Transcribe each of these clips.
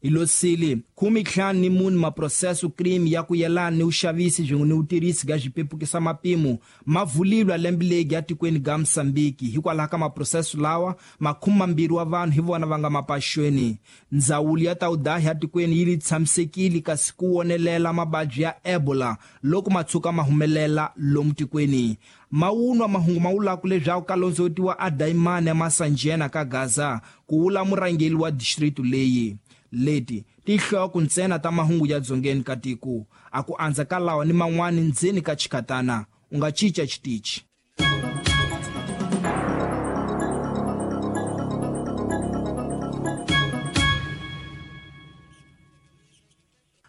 Hilosili 54 maproseso crime ya ku yelana ni vuxavisi swin'we ni vutirhisi bya swipepukisa mapimo ma vulilwa lembe legi ya tikweni ga Mosambiki. Hikwalaho ka maproseso lawa, 20 wa vanhu hi vona va nga mapaxweni. Ndzawulo ya ta vudahi ya tikweni yi li tshamisekile kasi ku wonelela mavabyi ya Ebola loko ma tshuka ma humelela lomu tikweni. Mawunwa mahungu ma vulaka leswaku ka londzovutiwa a dayimani ya Masanjena ka Gaza, ku vula murhangeri wa district leyi. Leti tinhloko ntsena ta mahungu ya dzongeni ka tiko. A ku andza ka lawa ni man'wani ndzeni ka chikatana. U nga cinca xitichi.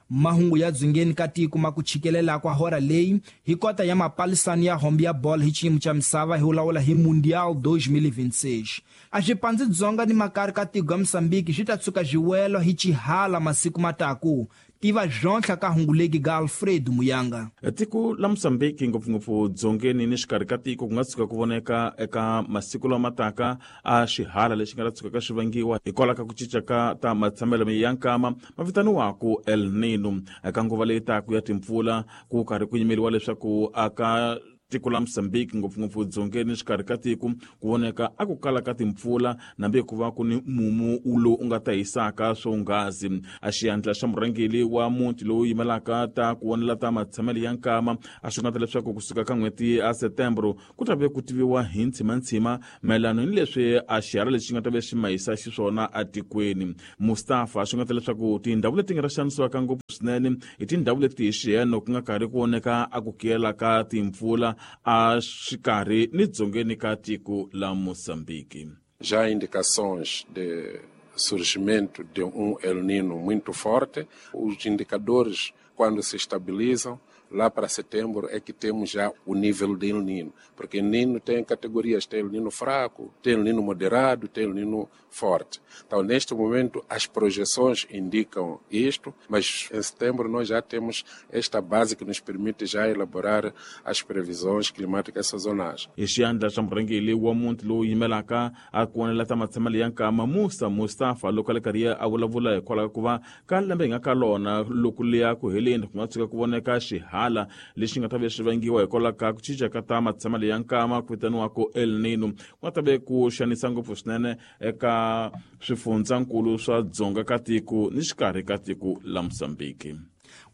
Mahungu ya dzongeni ka tiko ma ku tshikelela kwa hora leyi hi kota ya mapalisano ya hombe ya bolo hi xiyimo xa misava hi vulavula hi Mundial 2026. A swipandzi dzonga ni makari ka tiko ya Mosambiki swi ta tshuka swiwelo hi xihala masiku mataku. Tiva zvontlha ka hunguleki ga Alfredo Muyanga. Tiko la Mosambiki ngopfungopfu dzongeni ni xikarhi ka tiko ku nga tshuka ku voneka eka masiku lama taka a xihala lexi nga ta tshukaka xi vangiwa hikwalaho ka ku cinca ka ta matshamelo ya nkama ma vitaniwaku El Nino. Eka nguva leyi taka ya timpfula ku karhi ku yimeriwa leswaku aka tiko la Mosambiki ngopfungopfu dzongeni xikarhi ka tiko ku voneka a ku kala ka timpfula nambe ku va ku ni mumu lowu u nga ta hisaka swonghasi. A xiyandla xa murhangeri wa muti lowu yimelaka ta ku vonela ta matshamelo ya nkama a swi nga ta leswaku kusuka ka n'hweti ya Setembro ku ta ve ku tiviwa hi ntshimantshima mayelano ni leswi a xihala lexi nga ta ve xi mahisa xiswona atikweni. Mustafa swi nga ta leswaku tindhawu leti nga ta xanisiwaka ngopfu swinene i tindhawu leti hi xiheno ku nga karhi ku voneka a ku kiyela ka timpfula a xikarhi ni dzongeni ka tiko la Mosambiki. Já há indicações de surgimento de um El Nino muito forte. Os indicadores, quando se estabilizam, lá para setembro é que temos já o nível de El Nino. Porque El Nino tem categorias, tem El Nino fraco, tem El Nino moderado, tem El Nino forte. Então, neste momento, as projeções indicam isto, mas em setembro nós já temos esta base que nos permite já elaborar as previsões climáticas sazonais. Hi xiyandla xa murhangeri wa muti lowu yimelaka a ku vonela ta matshamelo ya nkama Musa Mustafa loko a le karhi a vulavula hikwalaho ka ku va ka lembe hi nga ka lona loko liya ku heleni ku nga tshuka ku voneka xihala lexi nga ta ve xi vangiwa hikwalaho ka ku cinca ka ta matshamelo ya nkama ku vitaniwaka El Nino ku nga ta ve ku xanisa ngopfu swinene eka swifundzankulu swa dzonga ka tiko ni xikarhi ka tiko la Mosambiki.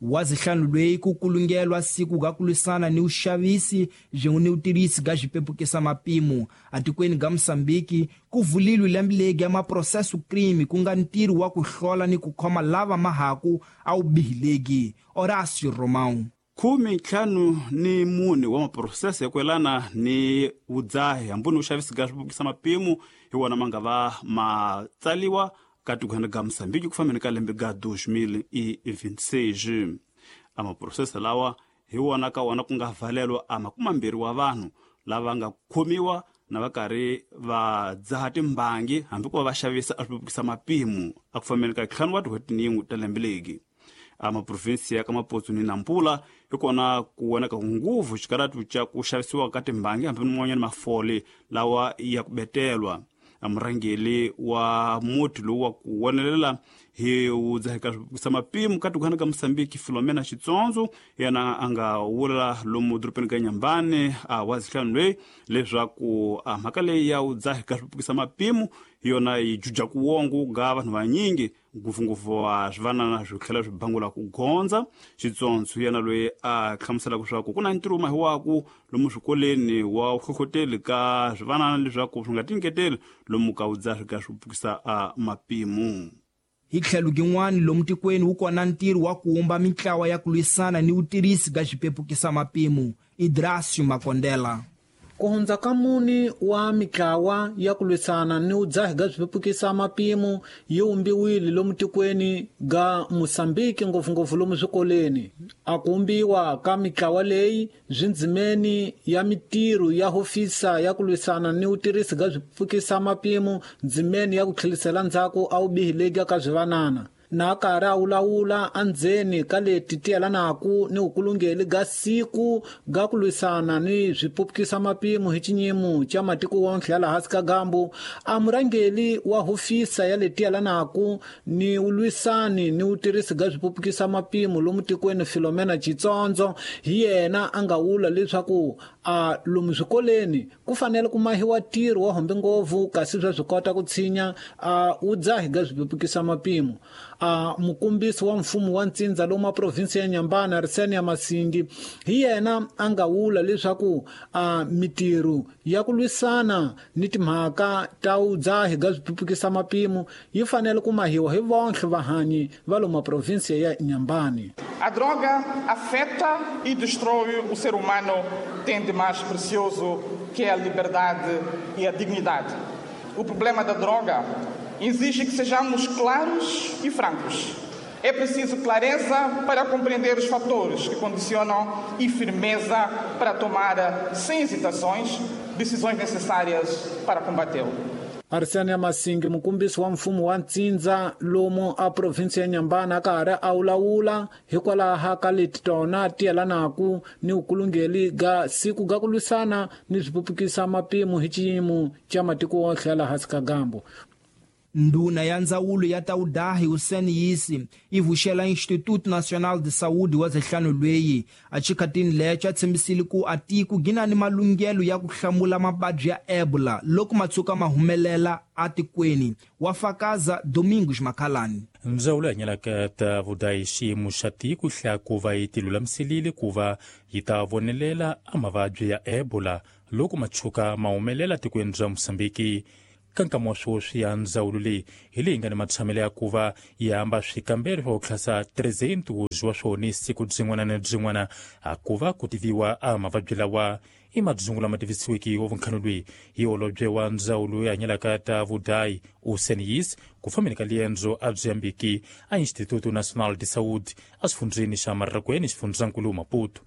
Wa zihlanu lweyi ku kulungelwa siku ga ku lwisana ni vuxavisi swin'we ni vutirhisi ga xipepukisa mapimo atikweni ga Mosambiki ku vulilwe lembe legi ya maproseso crime ku nga ntirho wa ku hlola ni ku khoma lava mahaku a wu bihilegi. Horácio Romão. 54 wa maprosese ya ku yelana ni vudzahi hambi ni vuxavisi ga swipepukisa mapimo hi wona ma nga va ma tsaliwa ka tikweni ga Mosambiki ku fambeni ka lembe ga 2026. A maprosese lawa hi wona ka wona ku nga valelwa a 20 wa vanhu lava nga khomiwa na va karhi va dzaha timbangi hambi ku va va xavisa a swipepukisa mapimo a ku fambeni ka 5 wa tin'hweti ni yin'we ta lembe legi. A maprovinsi ya ka Maputo ni Nampula hi kona ku vonaka nguvu xikaratu xa ku xavisiwa ka timbangi hambi man'wanyana mafole lawa ya ku betelwa. A murhangeri wa muti lowu wa ku vonelela hi wudzahi ka swipepukisa mapimo ka tikwana ka Mosambiki Filomena Xitsondzo yena a nga vula lomu dorobeni ka Nyambani a wa zihlanu loyi leswaku a mhaka leyi ya wudzahi ka swipepukisa mapimo hi yona yi juja ku wongo ga vanhu vanyingi ngopfungopfu wa swivanana swi tlhela swi bangula ku gondza. Xitsondzo yena loyi a hlamuselaka leswaku ku na ntirho mahiwaku lomu swikoleni wa hlohloteli ka swivanana leswaku swi nga tinyiketeli lomu ka vudzahi ka swi pfukisa a mapimo. Hi tlhelo gin'wana lomu tikweni wu kona ntirho wa ku wumba mintlawa ya ku lwisana ni vutirhisi bya xipepukisa mapimo. Idrasio Makondela. Ku hundza ka mune wa mitlawa ya ku lwisana ni vudzahi bya swipepukisa mapimo yi wumbiwile lomu tikweni ga Mosambiki ngopfungopfu lomu swikolweni. A ku wumbiwa ka mitlawa leyi swi ndzimeni ya mitirho ya hofisa ya ku lwisana ni vutirhisi bya swipepukisa mapimo ndzimeni ya ku tlhelisela ndzhaku a vubihi lebya ka swivanana. Na karhi a wulawula endzeni ka leti ti yelanaka ni vukulungeli ga siku ga ku lwisana ni swipupukisa mapimo hi xinyimo xa matiko wonke ya laha hansi ka gambu, a murhangeli wa hofisa ya leti yelanaka ni ulwisani ni vutirhisi ga swipupukisa mapimo lomu tikweni Filomena Chitsondzo hi yena a nga wula leswaku a lomu swikoleni ku fanele ku mahiwa ntirho wa hombe ngopfu kasi swa swi kota ku tshinya a wudzahi ga swipupukisa mapimo. A mukombisi wa mfumo wa ntsindza lomu provinsi ya Nyambana Arsenia Masingi hi yena a nga wula leswaku a mitirho ya ku lwisana ni timhaka ta wudzahi ga swipupukisa mapimo yi fanele ku mahiwa hi vonke vahanyi va lomu provinsi ya Nyambani. A droga afeta e destrói o ser humano, tem de mais precioso que é a liberdade e a dignidade. O problema da droga exige que sejamos claros e francos. É preciso clareza para compreender os fatores que condicionam e firmeza para tomar, sem hesitações, decisões necessárias para combatê-lo. Arsenia Masingi mukombisi wa mfumo wa ntsindza lomu a provinsi ya Nyambana karhi a wulawula hikwalaho ka leti tona ti yelanaka ni vukulungeli ga siku ga ku lwisana ni swipupukisa mapimo hi xiyimo xa matiko wonke ya laha hansi ka gambu. Nduna ya ndzawulo ya Taudahi Hussein Yisi yi vuxela Instituto Nacional de Saúde wa zehlano lweyi a chikhatini lecho a tshembisile ku a tiko gina ni malunghelo ya ku hlamula mabadyi ya Ebola loko matsuka ma humelela atikweni. Wa fakaza Domingos Makhalani. Ndzawulo ya hanyelaka ta vudayi xiyimo xa tiko hla ku va yi tilulamiselile ku va yi ta vonelela a mavabyi ya Ebola loko matshuka ma humelela tikweni bya Mosambiki. Ka nkama wa swoswi ya ndzawulo leyi hi leyi nga ni matshamelo ya ku va yi hamba swikambelo swa ku tlhasa 300 wa swona siku byin'wana na byin'wana a ku va ku tiviwa a mavabyi lawa. I madzungu lama tivisiweke wa vunkhano lweyi hi holobye wa ndzawulo ya hanyelaka ta vudayi Hussein Yis ku fambeni ka liendzo a byi yambiki a Instituto Nacional de Saúde a xifundzeni xa Marrakweni xifundzankulu Maputo.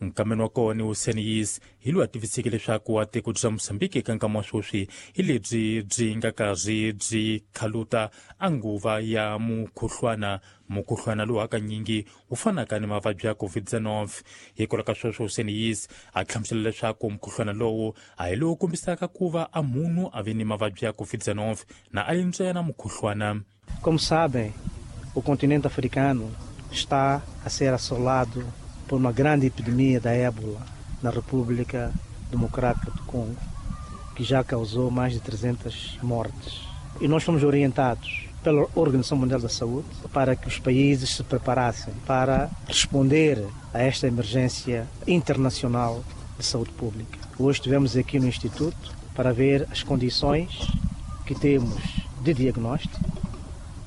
Nkameni wa kona Hussein Yis hi loyi a tiviseke leswaku a tiko bya Mosambiki eka nkama wa sweswi hi lebyi byi nga karhi byi khaluta a nguva ya mukhuhlwana. Mukhuhlwana lowu hakanyingi wu fanaka ni mavabyi ya COVID-19. Hikwalaho ka sweswo Hussein Yis a hlamusela leswaku mukhuhlwana lowu a hi lowu kombisaka ku va a munhu a ve ni mavabyi ya COVID-19 na a li ntsena mukhuhlwana. Como sabem, o continente africano está a ser assolado por uma grande epidemia da ébola na República Democrática do Congo, que já causou mais de 300 mortes. E nós fomos orientados pela Organização Mundial da Saúde para que os países se preparassem para responder a esta emergência internacional de saúde pública. Hoje estivemos aqui no Instituto para ver as condições que temos de diagnóstico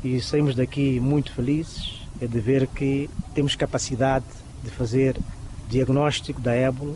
e saímos daqui muito felizes de ver que temos capacidade de fazer diagnóstico da ébola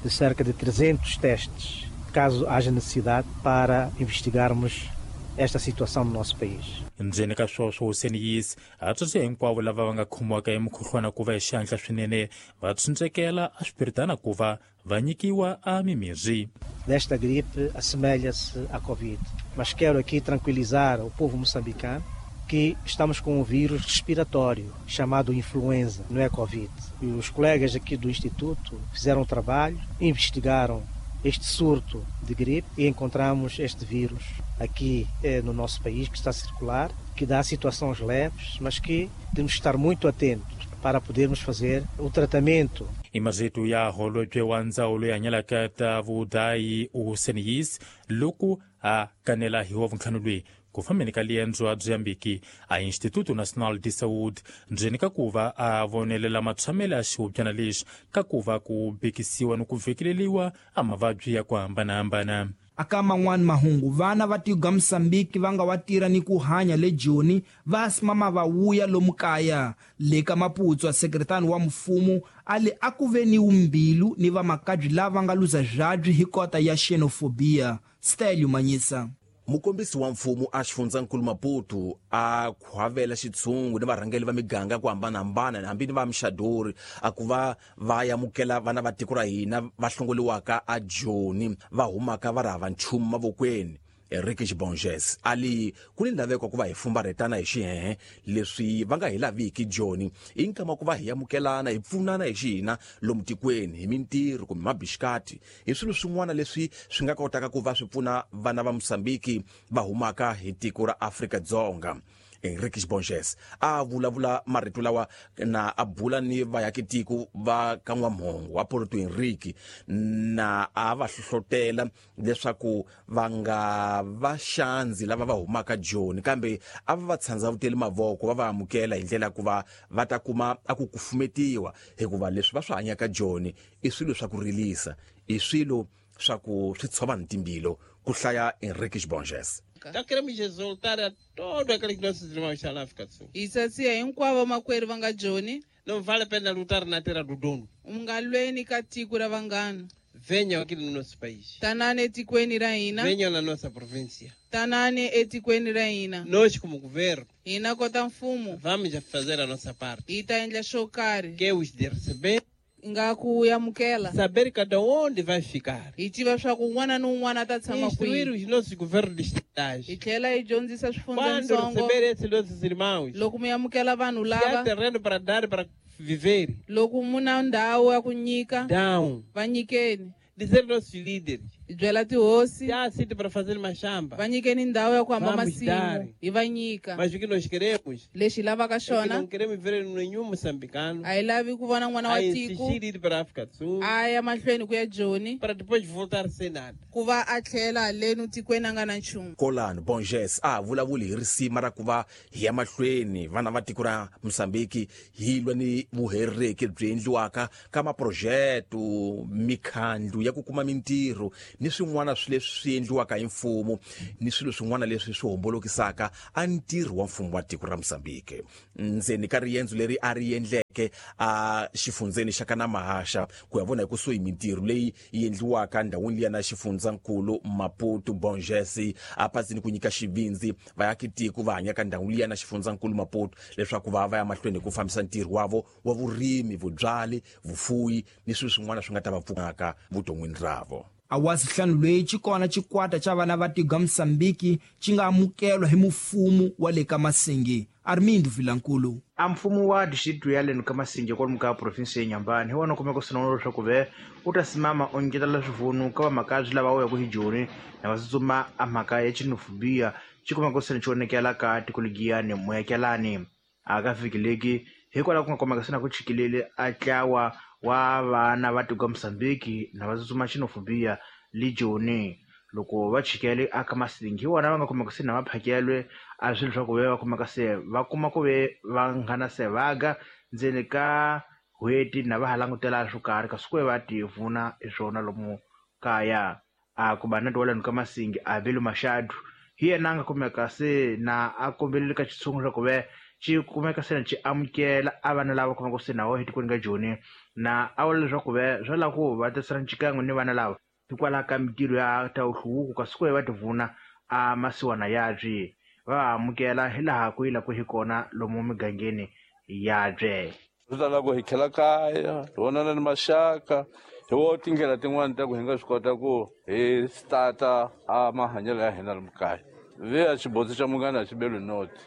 de cerca de 300 testes, caso haja necessidade, para investigarmos esta situação no nosso país. Ndzeni ka sweswo Hussein Yis a tsundzuxa hinkwavo lava va nga khomiwaka hi mukhuhlwana ku va hi xihatla swinene va tsundzekela a swipiritana ku va va nyikiwa a mimirhi. Desta gripe assemelha-se à Covid, mas quero aqui tranquilizar o povo moçambicano que estamos com um vírus respiratório chamado influenza, não é Covid. E os colegas aqui do Instituto fizeram um trabalho, investigaram este surto de gripe e encontramos este vírus aqui no nosso país, que está a circular, que dá situações leves, mas que temos que estar muito atentos para podermos fazer o tratamento. I marito ya holobye wa ndzawulo ya hanyelaka ta vudayi Hussein Yis loko a kanela hi wa vuntlhanu lweyi ku fambeni ka liendzo a byi yambiki a Instituto Nacional de Saúde ndzeni ka ku va a vonelela matshamelo ya xihubyana lexi ka ku va ku bekisiwa ni ku vhekeleliwa a mavabyi ya ku hambanahambana. Aka man'wani mahungu, vana va tiko ga Mosambiki va nga wa tirha ni ku hanya le Joni va simama va wuya lomu kaya. Le ka Maputo, sekretari wa mfumo a le a ku ve ni umbilu ni vamakabyi lava nga luza byabyi hi kota ya xenofobia. Stelio Manyisa. Mukombisi wa mfumo a xifundzankulu Maputo a khwavela xitshungu ni varhangeli va miganga ku hambanahambana hambi ni va mixadori a ku va va amukela vana va tiko ra hina va hlongoliwaka a Joni va humaka va ri hava nchumu mavokweni. Enrique Bonges ali ku ni laveko ku va hi fumbarhetana hi xihehe leswi va nga hi laviki Joni i nkama ku va hi amukelana hi pfunana hi xihina lomu tikweni hi mintirho kumbe mabixikati hi swilo swin'wana leswi swi nga kotaka ku va swi pfuna vana va Mosambiki va humaka hi tiko ra Afrika-Dzonga. Enrique Bonges a vulavula marito lawa na a bula ni vayakitiko va ka N'wamhongo wa Porto Henrique na a va hlohlotela leswaku va nga va xandzi lava va humaka Joni kambe a va va tshandzavuteli mavoko va va amukela hi ndlela ku va va ta kuma a ku kufumetiwa hikuva leswi va swi hanyaka Joni i swilo swa ku rilisa i swilo swa ku swi tshova ni timbilo ku hlaya Enrique Bonges. Nós queremos exaltar a todos aqueles nossos irmãos que estão na África do Sul. Hi hinkwavo makwerhu va nga Joni. Não vale a pena lutar na terra do dono. U nga lweni ka tiko ra vanghana. Venham aqui no nosso país. Tanani etikweni ra hina. Venham na nossa província. Tanani etikweni ra hina. Nós como governo. Hina kota mfumo. Vamos fazer a nossa parte. Hi ta endla xo karhi. Que é os de receber. Nga ku amukela. Saber cada onde vai ficar. Hi tiva swa ku un'wana ni un'wana ta tshama kwihi. Instruir os nossos governos distritais. Hi tlhela hi dyondzisa Quando swifundzantsongo. receber esses nossos irmãos. Loko mi amukela vanhu Se há lava. terreno para dar para viver. Loko mu na ndhawu ya ku nyika. Dão. Va nyikeni. Dizer nossos líderes. Hi byela tihosi. Se há sítio para fazer machamba. Va nyikeni ndhawu ya ku hamba Vamos masimu. dar. Hi va nyika. Mas o que nós queremos Lexi hi lavaka é que xona. não queremos ver nenhum moçambicano A hi lavi ku vona n'wana a wa tiko insistir ir para a África do Sul a ya mahlweni ku ya Joni para depois voltar sem nada. ku va a tlhela haleni tikweni a nga na nchumu. Kolano Bonges a vulavuli hi risima ra ku va hi ya mahlweni vana va tiko ra Mosambiki hi lwa ni vuhereki byi endliwaka ka maprojeto mikhandlu ya ku kuma mintirho ni swin'wana swi leswi swi endliwaka hi mfumo ni swilo swin'wana leswi swi hombolokisaka a ntirho wa mfumo wa tiko ra Mosambiki. Ndzeni ka riendzo leri a ri endleke a xifundzeni xa Kanamahaxa ku ya vona hi kusuhi mintirho leyi yi endliwaka ndhawini liya na xifundzankulu Maputo Bonges a pasini ku nyika xivindzi vayakitiko va hanyaka ndhawu liya na xifundzankulu Maputo leswaku va va ya mahlweni hi ku fambisa ntirho wavo wa vurimi vubyali vufuyi ni swilo swin'wana swi nga ta va pfunaka vuton'wini ravo. Awasihlanu leyi xi kona xikwata xa vana va tiko ra Mosambiki xi nga amukelwa hi mufumo wa le ka Masingi. Armindo Vilankulu. A mfumo wa district ya leno ka Masingi kwalomu ka province ya Inhambane hi wona kumeka swinene leswaku ve u ta simama u nyiketela swivunu ka vamakabyi lava wuyaka hi Joni na va tsutsuma a mhaka ya xinofobia xi kumeka sene xi onekela ka tiko legiyani muakelani a ka vhiki leki hikwalaho ku nga kumeka sena ku chikilele a tlawa wa vana va tiko Mosambiki na va tsutsuma xinofobia le Joni loko va chikele aka Masingi hi wona va nga kumeka se na va phakelwe a swilo swa ku ve va kumeka se va kuma ku ve va nghana se vaga ndzeni ka n'hweti na va ha langutela swo karhi kasi ku ve va tivuna hi swona lomu kaya a ku va na tiwalani ka Masingi a Belo Machado hi yena a nga kumeka se na a kombelele ka xitshungu swa ku ve xi kumeka se na xi amukela a vana lava kumeka se na wo etikweni ka Joni na a vula leswaku ve swa lava ku va tisana xikan'we ni vana lava hikwalaho ka mintirho ya ta nhluvuko kasi ku ve va tivuna a masiwana yabye va amukela hi laha ku yila ku hi kona lomu migangeni yabye. Swi ta lava ku hi tlhela kaya hi vonana ni maxaka hi wo tindlela tin'wani ta ku hi nga swi kota ku hi stata a mahanyelo ya hina lomu kaya ve a xibotsi xa munghana a xi beli noti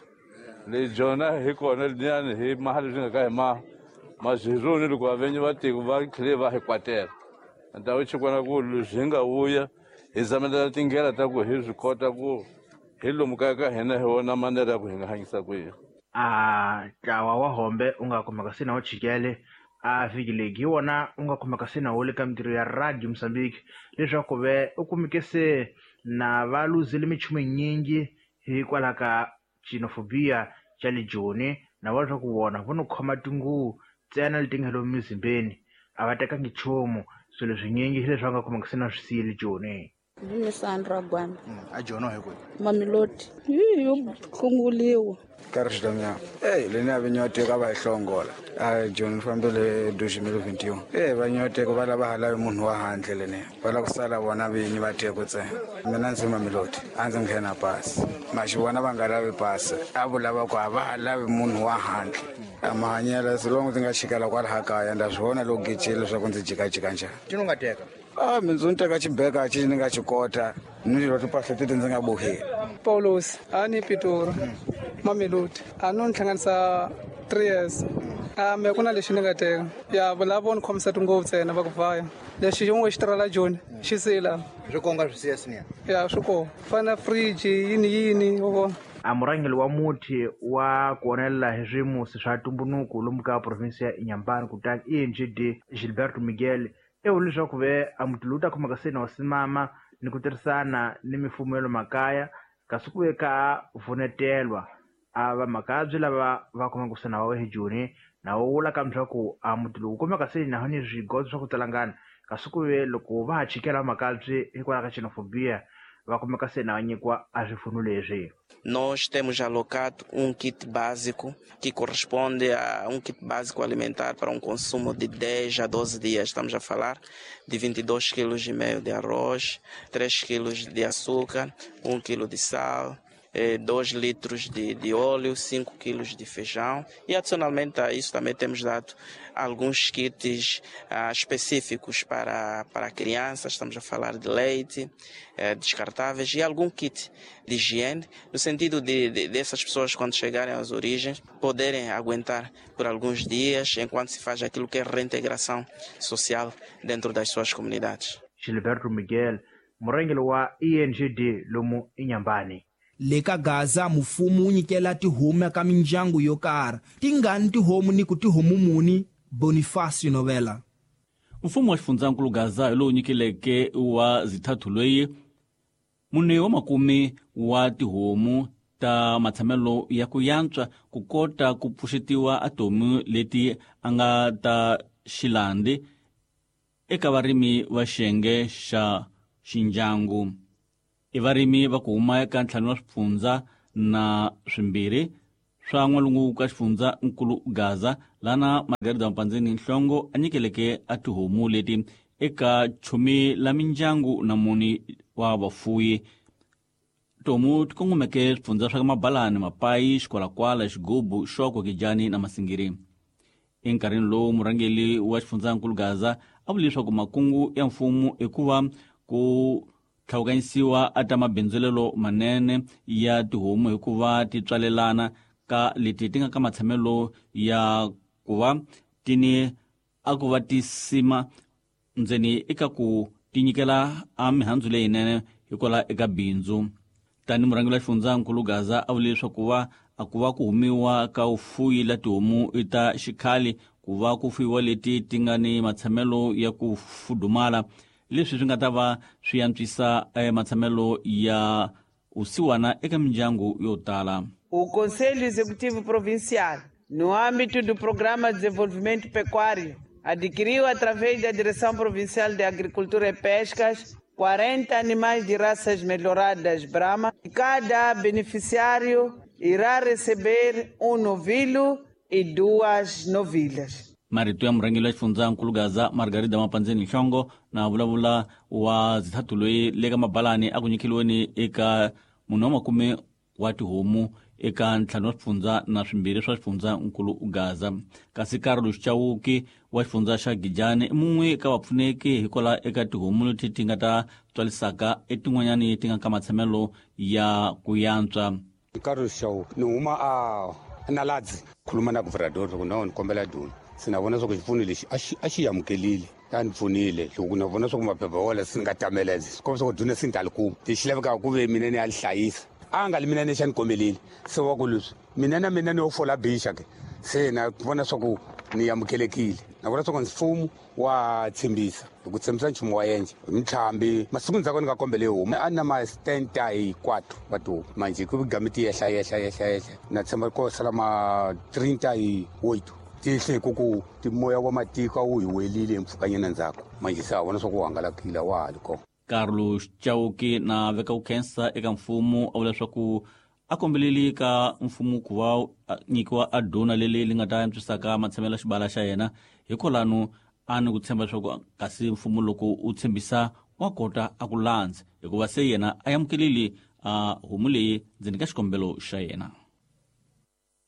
leyi jona hi kona liyani hi maha leswi nga ka hi maziruni loko vavenyi va tiko va tlhele va hi kwatela ndhawu xikona ku leswi hi nga vuya hi zamelela tindlela ta ku hi swi kota ku hi lomu kaya ka hina hi wona manera ya ku hi nga hanyisa ku yini. A ntlawa wa hombe u nga kumeka se na wu chikele a vhiki legi hi wona u nga kumeka se na wu le ka mintirho ya Radio Mosambiki leswaku ve u kumeke se na va luzile minchumu yinyingi hikwalaho ka xinofobia xa le Joni na va leswaku vona vo no khoma tinguvu ntsena leti nga lomu mizimbeni a va tekangi nchumu swilo swinyingi hi leswi va nga kumeka se na swi siyile Joni. Ndzi Sandra Gwanda. A Joni hi kwihi? Mamelodi. Yo hlonguliwa. Karhi Xidamya. Leni a vi nyoteka va hi hlongola. A Joni fambele 2021. Va nyoteka va lava ha lavi munhu wa handle leni. Va lava ku sala vona vinyi va teko ntsena. Mina ndzi Mamelodi, a ndzi nghena pasi. Maxivona va nga lavi pasi. A vulava ku a va ha lavi munhu wa handle. A mahanyelo as long ndzi nga chikela kwalaha kaya nda swi vona loko gecile leswaku ndzi jikajika njhani. Tino nga teka? A mindzu ni teka xibeka xi ni nga xi kota ni lwa timpahla teti ndzi nga boheli. Paulos a ni Pitori Mamelodi a no ni hlanganisa 3 years. A me ku na lexi ni nga teka ya lava ni khomisa tingopfu ntsena va ku vhaya lexi xin'we xi tirhela Joni xi sila swi konga swi siya siniya ya swi kona fana fridge yini yini u vona. A murhangeri wa muti wa ku onelela hi swimusi swa ntumbuluko lomu ka provinsi ya Inhambane kutani ENGD Gilberto Miguel i vule leswaku ve a muti lowu ta khomaka se na simama ni ku tirhisana ni mifumo ya le makaya kasi ku ve ka vunetelwa a vamakabye lava va khomaka se na wa hi Joni na wo vula ka leswaku a muti lowu kumeka se na ni swigodzo swa ku talangana kasi ku ve loko va ha chikela vamakabye hikwalaho ka xenophobia va kumeka se na nyikiwa a swipfuno leswi. Nós temos alocado kit básico que corresponde a kit básico alimentar para consumo de 10 a 12 dias. Estamos a falar de 22,5 kg de arroz, 3 kg de açúcar, 1 kg de sal, 2 litros de óleo, 5 kg de feijão. E adicionalmente a isso também temos dado alguns kits específicos para crianças, estamos a falar de leite, descartáveis e algum kit de higiene, no sentido de dessas pessoas quando chegarem às origens poderem aguentar por alguns dias enquanto se faz aquilo que é reintegração social dentro das suas comunidades. Gilberto Miguel, murhangeri wa ENGD lomu Inhambane. Le ka Gaza mfumo wu nyikela tihomu ka mindyangu yo karhi tingani tihomu ni ku tihomu muni. Bonifacio Novela. Mfumo wa xifundzankulu Gaza hi lowu nyikeleke wa zithathu loyi mune wa makume wa tihomu ta matshamelo ya ku yantswa ku kota ku pfuxetiwa atomu leti a nga ta xilandi eka varimi va xiyenge xa xindyangu. I varimi va ku huma eka ntlhanu wa swifundza na swimbirhi swa n'walungu ka xifundza nkulu Gaza lana Margarida Mpandzeni Nhlongo a nyikeleke a tihomu leti eka chumi la mindyangu na muni wa vafuyi. Tihomu ti kongomeke swifundza swa Mabalani, Mapayi, Xikwalakwala, Xigubu, Xoko, Kijani na Masingiri. Enkarhini lowu murhangeri wa xifundzankulu Gaza a vule leswaku makungu ya mfumo i ku va ku tlhawukanyisiwa a ta mabindzulelo manene ya tihomu hikuva ti tswalelana ka leti ti nga ka matshamelo ya ku va tini a ku va ti sima ndzeni eka ku ti nyikela a mihandzu leyinene hikwalaho eka bindzu. Tani murhangeri wa xifundzankulu Gaza a vule leswaku va a ku va ku humiwa ka vufuyi la tihomu i ta xikhale ku va ku fuyiwa leti ti nga ni matshamelo ya ku fudumala leswi swi nga ta va swi antswisa matshamelo ya usiwana eka mindyangu yo tala. O Conselho Executivo Provincial, no âmbito do Programa de Desenvolvimento Pecuário, adquiriu através da Direção Provincial de Agricultura e Pescas 40 animais de raças melhoradas Brahma. Cada beneficiário irá receber novilho e 2 novilhas. Marito ya murhangeri wa xifundzankulu Gaza Margarida Mapandzeni Nhlongo na vulavula wa zithathu loyi le ka Mabalani a ku nyikeliweni eka munhu wa makume wa tihomu eka ntlhanu wa swifundza na swimbirhi swa xifundzankulu Gaza. Kasi Carlos Chauki wa xifundza xa Gijani i mun'we eka vapfuneki hikwalaho eka tihomu leti ti nga ta tswalisaka etin'wanyani ti nga ka matshamelo ya ku yantswa. Carlos Chauki ni huma a Naladzi khuluma na governador loko na ni kombela duna se na vona swa ku xipfuno lexi a xi amukelile ta ni pfunile loko na vona swa ku maphepha wala se ni nga tameledze swi komba swa ku duna se ni ta li kuma lexi lavekaka ku ve mina ni ya li hlayisa a nga li mina ni xa ni kombelile se wa ku leswi mina na mina ni yo fola bixa ke se na vona swa ku ni amukelekile na vona swa ku mfumo wa tshembisa hi ku tshembisa nchumu wa yendla mintlhambi masiku ndzhaku ni nga kombele homu a na ma 74 wa tihomu manje ku game ti yehla yehla yehla yehla na tshemba ko sala ma 38 tihle ku timoya wa matiko a wu hi welile mpfhukanyana ndzhaku manje se a vona swa ku hangalakile wa ha li kona. Carlos Chauki na veka ku khensa eka mfumo a vula leswaku a kombeleli ka mfumo ku va nyikiwa a dona leli li nga ta antswisaka matshamelo ya xibala xa yena hikwalano a ni ku tshemba leswaku kasi mfumo loko u tshembisa wa kota a ku landza hikuva se yena a amukeleli a homu leyi ndzeni ka xikombelo xa yena.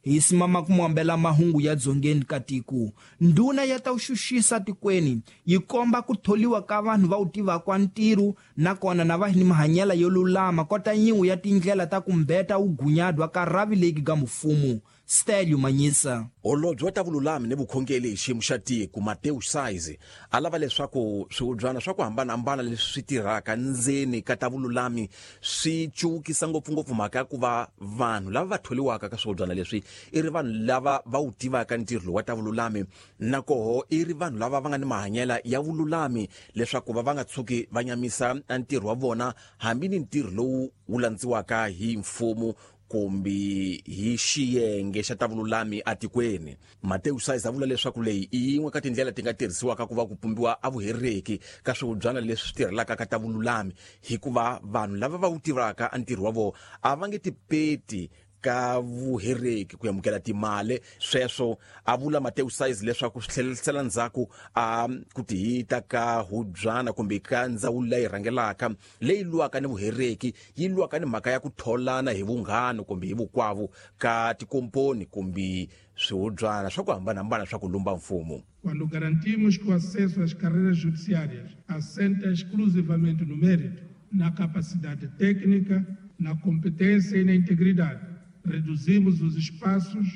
Hi simama ku muambela mahungu ya dzongeni ka tiko. Ndhuna ya ta xuxisa tikweni yi komba ku tholiwa ka vanhu va wu tivaka ntirho nakona na va ni mahanyelo yo lulama kota yin'we ya tindlela ta ku mbeta wugunyadwa ka rhavi legi ga mfumo. Stelio Manyisa. Holobye wa ta vululami ni vukhongeri hi xiyimo xa tiko Mateus Saizi a lava leswaku swihubyana swa ku hambanahambana leswi swi tirhaka ndzeni ka ta vululami swi cukisa ngopfungopfu mhaka ya ku va vanhu lava va tholiwaka ka swihubyana leswi i ri vanhu lava va wu tivaka ntirho lowu wa ta vululami na koho i ri vanhu lava va nga ni mahanyelo ya vululami leswaku va va nga tshuki va nyamisa ntirho wa vona hambi ni ntirho lowu wu landziwaka hi mfumo kumbe hi xiyenge xa ta vululami atikweni. Mateus Saizi a vula leswaku leyi i yin'we ka tindlela ti nga tirhisiwaka ku va ku pumbiwa a vuhereki ka swihubyana leswi swi tirhelaka ka ta vululami hikuva vanhu lava va wu tivaka a ntirho wa vona a va nge tipeti ka vuhereki ku amukela timali. Sweswo a vula Mateus Saizi leswaku swi tlherisela ndzhaku a ku tihita ka hubyana kumbe ka ndzawulo leyi rhangelaka leyi lwaka ni vuhereki yi lwaka ni mhaka ya ku tholana hi vunghana kumbe hi vukwavu ka tikomponi kumbe swihubyana swa ku hambanahambana swa ku lumba mfumo. Quando garantimos que o acesso às carreiras judiciárias assenta exclusivamente no mérito, na capacidade técnica, na competência e na integridade, reduzimos os espaços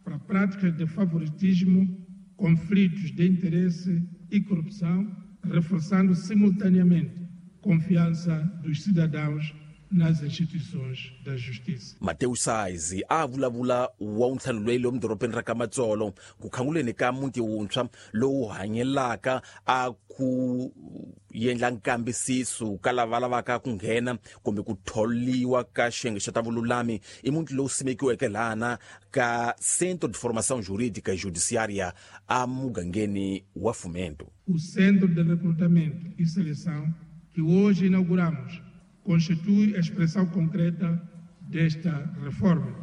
para práticas de favoritismo, conflitos de interesse e corrupção, reforçando simultaneamente a confiança dos cidadãos nas instituições da justiça. Mateus Saizi a vulavula wa ntlhanu loyi lomu dorobeni ra ka Matsolo ku khanguleni ka muti wuntshwa lowu hanyelaka a ku endla nkambisiso ka lava lavaka ku nghena kumbe ku tholiwa ka xiyenge xa ta vululami. I muti lowu simekiweke lana ka Centro de Formação Jurídica e Judiciária a mugangeni wa Fomento. O Centro de Recrutamento e Seleção que hoje inauguramos constitui a expressão concreta desta reforma,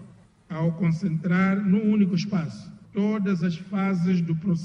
ao concentrar num único espaço todas as fases do processo